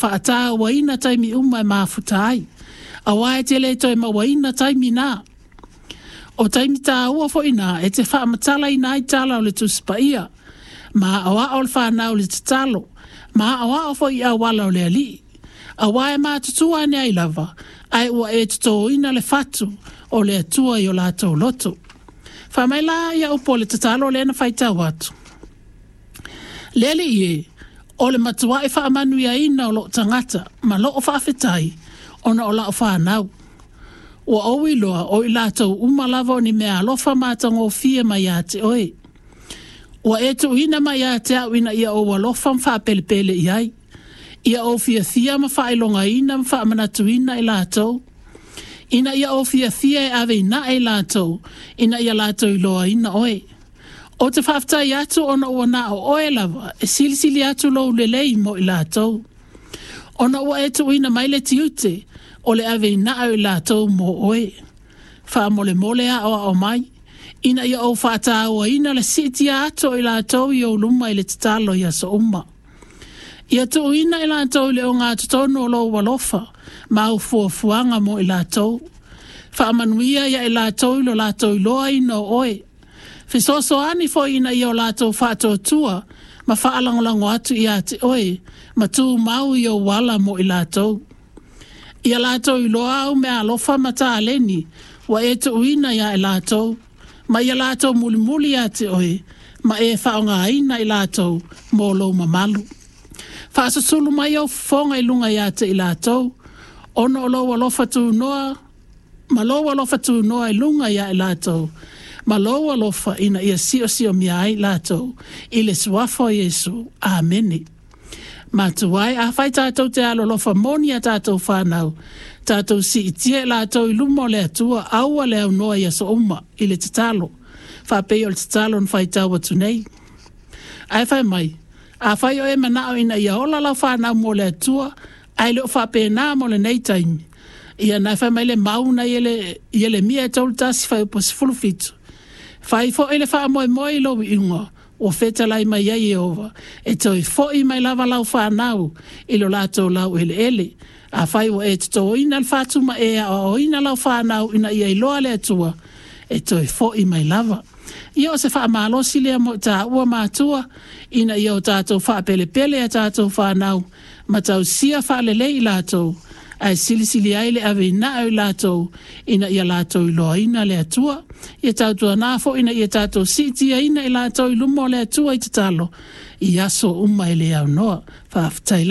faatauaina taimi uma e mafuta ai, auā e te lē toe mauaina taimi na. O taimi tāua foi na e te faamatalaina ai tala o le Tusi Paia, ma aoao le fanau i le tatalo, ma aoao foi i auala o le Alii. Auā e matutua ane ai lava, ae ua e totōina le fatu o le Atua i o latou loto. Fai mai la ia upu o le tatalo lea na faitau atu. Le Alii e, o le matua'i faamanuiaina o lou tagata ma lou faafetai ona o lau fanau. Ua ou iloa o i latou uma lava o ni meaalofa matagofie mai ia te oe. Ua e tuuina mai ia te au ina ia ou alofa ma faapelepele i ai, ia ou fiafia ma faailogaina ma faamanatuina i latou, ina ia ou fiafia e ave i nae i latou, ina ia latou iloaina oe. Ou te faafetai atu ona ua na o oe lava e silisili atu lou lelei mo i latou. Ona ua e tuuina mai le tiute o le ave i nae o i latou mo oe. Faamolemole aoao mai, ina ia ou faatauaina le siitia atu o i latou i ou luma i le tatalo i aso uma. Ia tuuina i latou i le ogatotonu o lou alofa ma au fuafuaga mo i latou. Faamanuia ia i latou i lo latou iloaina o oe. Fesoasoani foi ina ia o latou faatuatua ma faalagolago atu ia te oe, ma tumau i ou ala mo i latou. Ia latou iloa au meaalofa ma taleni ua e tuuina ia i latou, ma ia latou mulimuli ia te oe, ma e faaaogaina i latou mo lou mamalu. Faasusulu mai ou fofoga i luga ia te i latou, ona o lou alofa tunoa, ma lou alofa tunoa i luga ia i latou, ma lou alofa ina ia siosiomia ai latou, i le suafa o Iesu. Amene. Matua e, afai tatou te alolofa moni iā tatou fanau, tatou siitia i latou i luma o le Atua, aua le aunoa i aso uma, i le tatalo, faapei o le tatalo na faitau atu nei. Ae fai mai, afai o e manao ina ia ola lau fanau mo le Atua, ae le o faapena mo lenei taimi, ia na fai mai le mau na Ielemia e 31 fuaiupu 17. Fai foi le faamoemoe i lou iuga, ua fetalai mai ai Ieova, e toe foi mai lava lau fanau i lo latou laueleele. Afai ua e totōina le fatu ma e aoaoina lau fanau ina ia iloa le Atua, e toe foi mai lava. Ia o se faamalosi lea mo i taua matua, ina ia o tatou faapelepele a tatou fanau, ma tausia faalelei i latou, ae silisili ai le ave i nae o i latou, ina ia latou iloaina le Atua. Ia tautuana foi ina ia tatou siitiaina i latou i luma o le Atua i tatalo, i aso uma e le aunoa. Faafetai.